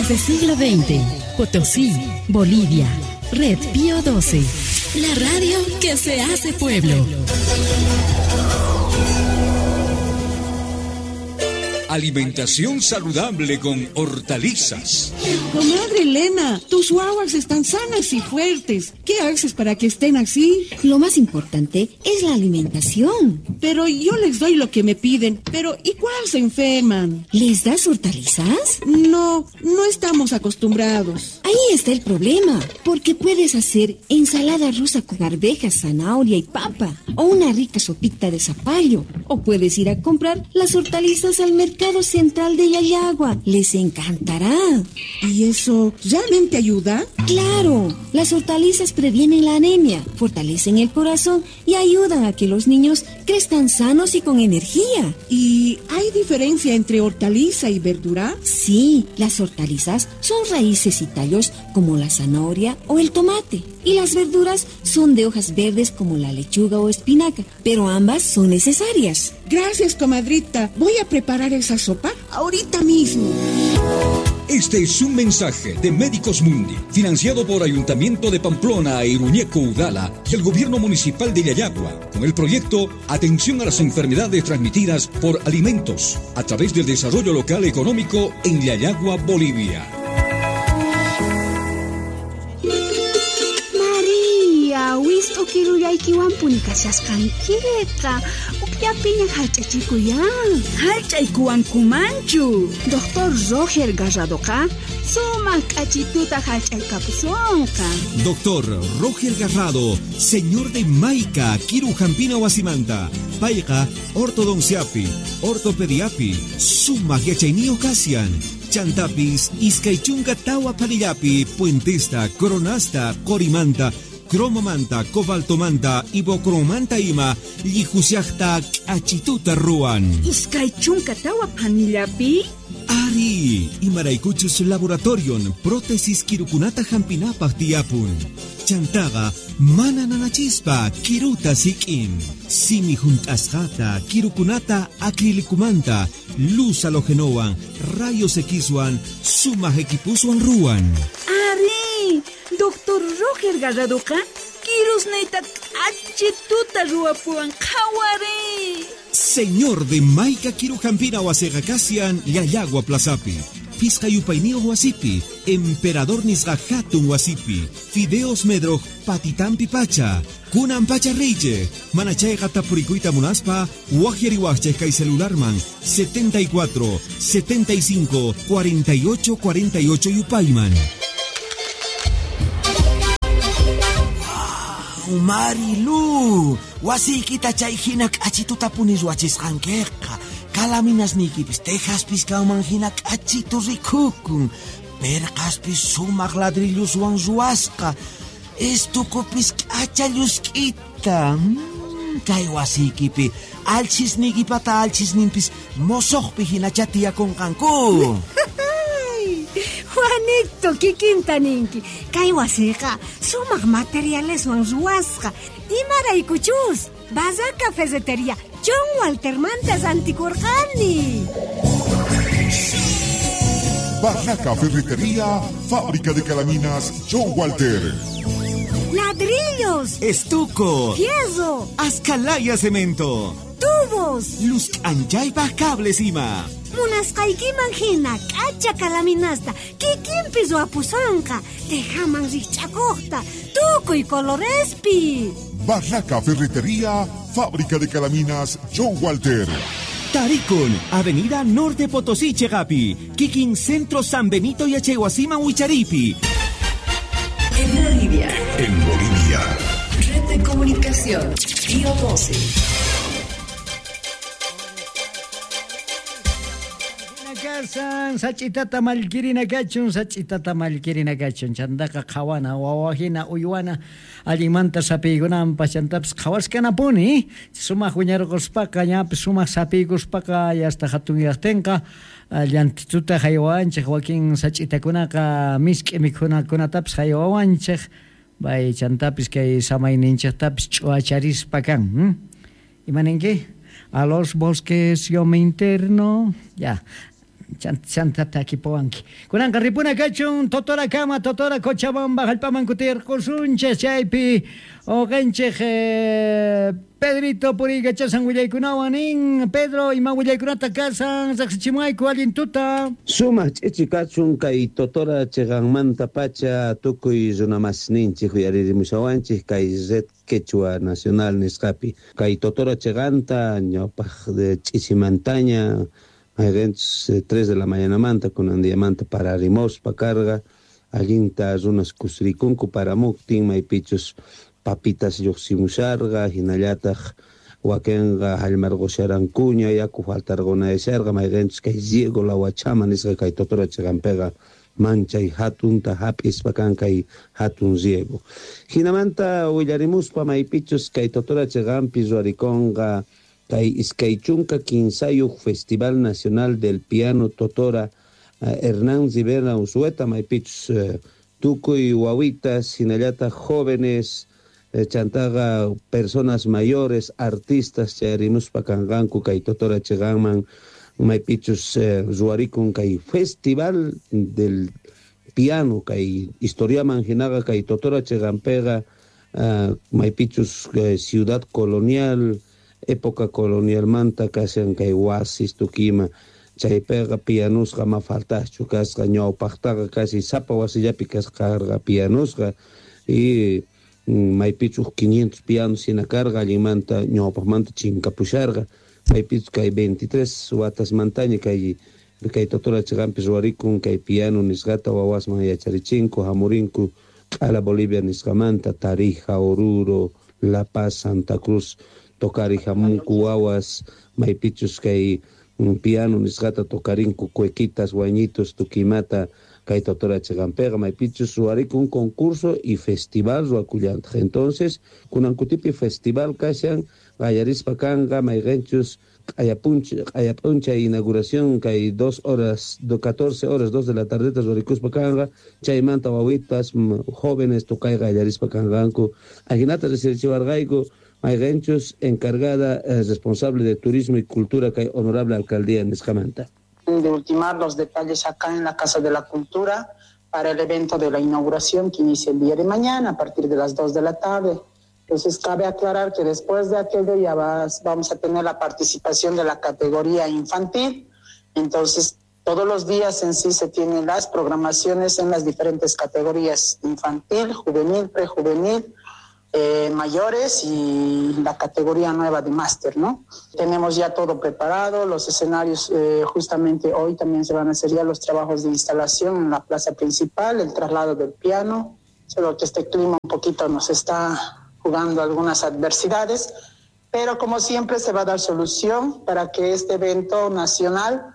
Desde siglo XX, Potosí, Bolivia. Red Pío 12. La radio que se hace pueblo. Alimentación saludable con hortalizas. Comadre Elena, tus guaguas están sanas y fuertes. ¿Qué haces para que estén así? Lo más importante es la alimentación. Pero yo les doy lo que me piden. Pero igual se enferman. ¿Les das hortalizas? No, no estamos acostumbrados. Ahí está el problema. Porque puedes hacer ensalada rusa con arvejas, zanahoria y papa. O una rica sopita de zapallo. O puedes ir a comprar las hortalizas al mercado Central de Llallagua. Les encantará. ¿Y eso realmente ayuda? Claro, las hortalizas previenen la anemia, fortalecen el corazón y ayudan a que los niños crezcan sanos y con energía. ¿Y hay diferencia entre hortaliza y verdura? Sí, las hortalizas son raíces y tallos como la zanahoria o el tomate. Y las verduras son de hojas verdes como la lechuga o espinaca, pero ambas son necesarias. Gracias, comadrita. Voy a preparar esa sopa ahorita mismo. Este es un mensaje de Médicos Mundi, financiado por Ayuntamiento de Pamplona e Iruñeco Udala y el Gobierno Municipal de Llallagua, con el proyecto Atención a las enfermedades transmitidas por alimentos, a través del desarrollo local económico en Llallagua, Bolivia. María, wist'ukirullaykiwanpuni kashasqankiqa. Ukllapiña hallch'achikuyan. Hallch'aykuwankumanchu. Doctor Roger Garradoqa sumaq k'achituta hallch'aykapusunqa. Doctor Roger Garrado, señor de Maica, Kiru Jampina Wasimanta, Payqa, ortodonciapi, ortopediapi, sumaq yachayniyuq kasian. Chantapis, iskaychunka tawa palillapi, puentesta, coronasta, corimanta, cromomanta, cobaltomanta, ibocromanta ima, llijusiajta, k'achituta ruwan. Iskaychunka tawa panillapi? Ari, imaraykuchus laboratorion, prótesis kirukunata hampinapaq tiyapun. Chantaqa, mana nanachispa, kiruta sik'in. Simi junt'asqata, kirukunata acrilicumanta, luz halogenowan, rayos Xwan, sumaq equipuswan ruwan. Ari, Doctor Roger Garradoqa, kirusniyta k'achituta ruwapuwan qhawari. Señor de Maica Kirujampina wasiqa kasian Llallagua Plazapi, Pisqa yupayniyuq wasipi, Emperador nisqa hatun wasipi, Fideos Medroj patitampi pacha, Kunan pacha riychej, mana chayqa tapurikuyta munaspa, waqyariwaqchej kay celularman 74 75 48 48 yupayman. Marilu, wasiykita chay hina k'achituta puni ruwachisqankiqa. Kalaminasniykipis tejaspis kanman hina k'achitu rikukun. Perqaspis sumaq ladrilloswan ruwasqa. Estukupis k'acha llusk'ita. Kay wasiykipi alchisniykipata alchisninpis mosoqpi hinacha tiyakunqanku. Juanito, kikinta ninki. Kay wasiqa sumaq materialeswan ruwasqa. Imaraykuchus, Barraca Ferretería, John Waltermanta rantikurqani. Barraca Ferretería, fábrica de calaminas John Walter. Ladrillos, estuco, fierro, ascalaya cemento, tubos, luz anchaypaj cables ima. Munasqaykiman hina k'acha kalaminasta kikinpi ruwapusonqa, tejaman rikch'akuqta, tukuy colorespi. Barraca Ferretería, fábrica de calaminas John Walter. Tarikun, Avenida Norte Potosí, Chegapi, Kikin Centro San Benito y Achehuasima, Huicharipi. En Bolivia. En Bolivia. Red de Comunicación, Pío 12. Sach'itata mallkirina kachun, sach'itata mallkirina kachun. Chantaqa qhawana, wawajina, uywana, allinmanta sapiykunanpas, chantapis qhawaskanapuni. Sumaq wiñarquspaqa, ñapis sumaq sapiykuspaqa, yasta hatunyaqtinqa, llantituta haywawanchik, wakin sach'itakunaqa misk'i mikhunakunatapis haywawanchik. Bay chantapis kay samayninchiktapis ch'uacharispa kan. Imaninki? A los bosques yo me interno. Ya. Chanta takipuwanki. Kunanqa ripuna kachun Totorakama, Totora Cochabamba hallp'aman kutirqusunchik chaypi uqanchik Pedrito puriykachasan willaykunawan nin. Pedro, ima willaykunata kasan riqsichimuwayku allin tuta. Sumaq ch'ichi kachun kay Totora chiqanmanta pacha tukuy runamasninchik uyaririmushawanchik kay Red Quechua Nacional nisqapi. Kay Totora chiqanta ñawpaq ch'ichimantaña mayqinchus 3 de la mañanamanta kunan diamanta pararimuspa karqa allinta runas kusirikunku paramuktin maypichus papitas lluqsimusharqa hinallataq wakinqa hallmarqusharankuña yaku faltarqunayasharqa mayqinchus kay riego la Huachama nisqa kay Totora chiqanpiqa manchay hatunta hap'ispa kan kay hatun riego. Hinamanta willarimuspa maypichus kay Totora chiqanpi ruwarikunqa kay 23 Festival Nacional del Piano Totora Hernán Rivera Unzueta maypichus tukuy wawitas hinallataq jóvenes chantaqa personas mayores artistas chayarimuspa kanqanku kay Totora chiqanman maypichus ruwarikun kay Festival del Piano kay historiaman hinaqa kay Totora chiqanpiqa maypichus ciudad colonial época colonialmanta kashan kay wasis tukima chaypiqa pianusqa ma faltaschu kasqa ñawpaqtaqa casi sapa wasillapi kasqarqa pianusqa y maypichus 500 pianos hina karqa allinmanta ñawpaqmanta chinkapusharqa maypichus kay 23 watasmantaña kay Totora chiqanpi ruwarikun kay piano nisqata wawasman yacharichinku hamurinku q'ala Bolivia nisqamanta Tarija, Oruro, La Paz, Santa Cruz tocari hamunku wawas maypichus kay piano nisqata tocarinku cuequitas, guañitos, tukimata kay Totora chiqanpiqa maypichus ruwarikun concurso y festival ruwakullantaq. Entonces kunankutipi festival kashan qallarispa kanqa mayqinchus q'ayap'unchay inauguración kay 2 horas, 14 horas, 2 de la tardeta ruwarikuspa kanqa chaymanta wawitas jóvenes tocay qallarispa kanqanku ajinata riqsirichiwarqayku mayqinchus encargada responsable de turismo y cultura kay honorable alcaldía nisqamanta. De ultimar los detalles acá en la Casa de la Cultura para el evento de la inauguración que inicia el día de mañana a partir de las 2 de la tarde. Entonces cabe aclarar que después de aquello ya vamos a tener la participación de la categoría infantil. Entonces todos los días en sí se tienen las programaciones en las diferentes categorías infantil, juvenil, prejuvenil, mayores y la categoría nueva de máster, ¿no? Tenemos ya todo preparado, los escenarios justamente hoy también se van a hacer ya los trabajos de instalación en la plaza principal, el traslado del piano, solo que este clima un poquito nos está jugando algunas adversidades, pero como siempre se va a dar solución para que este evento nacional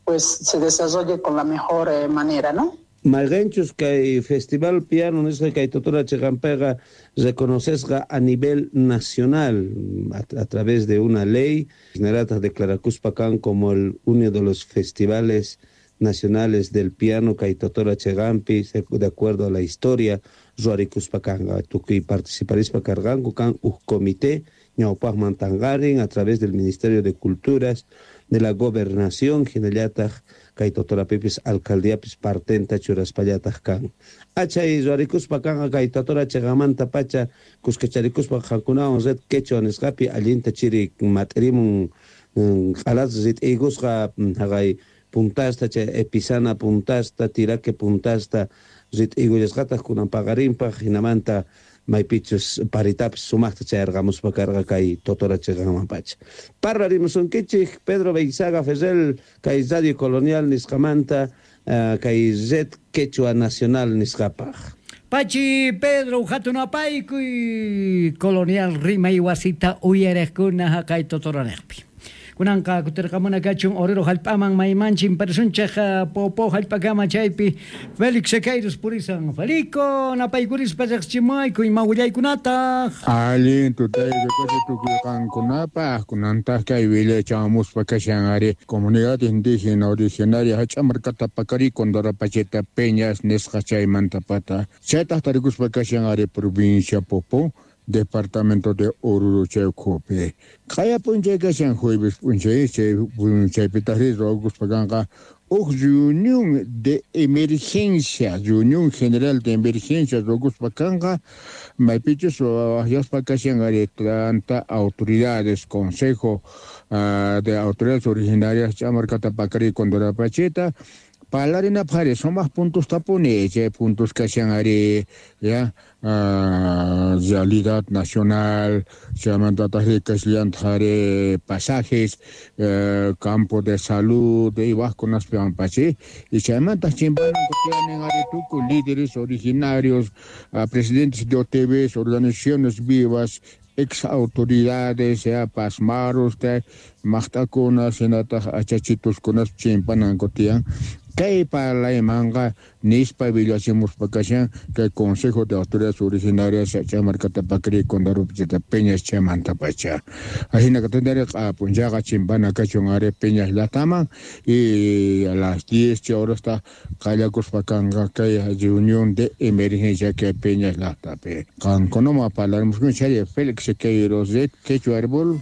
pues se desarrolle con la mejor manera, ¿no? Mayqinchus kay Festival Piano nisqa kay Totora chiqanpiqa reconocesqa a nivel nacional a través de una ley hinallataq declarakuspa kan como el uno de los festivales nacionales del piano kay Totora chiqanpi de acuerdo a la historia ruwarikuspa kanqa tukuy participarispa karqanku kan uj comité ñawpaqman tanqarin a través del Ministerio de Culturas de la Gobernación hinallataq kay Totorapipis alcaldiapis partenta churaspallataq kan. Achay ruwarikuspa kanqa kay Totora chiqanmanta pacha kuskacharikuspa qankunawan Red Quechua nisqapi allinta chiri mat'irimun q'alas rit'iykusqa haqay puntasta chay Episana puntasta Tiraque puntasta rit'iykullasqataq kunan paqarinpaq hinamanta maypichus paritapis sumaqta chayarqamuspa karqa kay Totora chiqanman pacha. Parlarimusunkichik Pedro Beizaga Ferrel kay Radio Colonial nisqamanta kay Red Quechua Nacional nisqapaq. Pachi Pedro hatun apaykuy Colonial rimay wasita uyariqkuna haqay Totoranejpi. Kunanqa kutirqamuna kachun Oruro hallp'aman maymanchin parisunchik Popo hallp'akama chaypi Félix Sequeiros purisan. Felico napaykurispa riqsichimuwayku ima willaykunataq. Allin tutayku kachi tukuy qankunapaq kunantaq kay willachamuspa kashan ari comunidad indígena originaria Hach'amarkata Pacari Condorapacheta Peñas nisqa chaymanta pata chaytaq tarikuspa kashan ari provincia Popo departamento de Oruro chay ukhupi. Q'aya p'unchay kashan jueves p'unchay chay p'unchaypitaqri ruwakuspa kanqa Uj reunión de emergencia, reunión general de emergencia ruwakuspa kanqa, maypichus wajyaspa kashan ari tanta autoridades, consejo de autoridades originarias ch'amarkata pakariy Condorapachita, parlarinapaj ari sumaj puntostapuni, chay puntos kashan ari ya realidad nacional, chaymantataj kashallantaj ari pasajes, campo de salud, y wajkunaspiwan pachi, y chaymantaj chimpananku tiyanin ari tukuy líderes originarios, presidentes de OTVs, organizaciones vivas, ex autoridades, ya pasmaros, maqt'akuna, shinataj achachituskunas chimpananku tiyan. Kay parlaymanqa nispa villachimuspa kashan kay Consejo de Autoridades Originarias ch'amarkata pakariy Condorapachita Peñas chaymantapacha. Ajina katantari q'apunchaqa chimpana kachun ari Peñas llaqtaman y a las 10 horasta qallakuspa kanqa kay reunión de emergencia kay Peñas llaqtapi. Qankunama parlarimuskun chay Félix Queiroz de Quechua Arbol.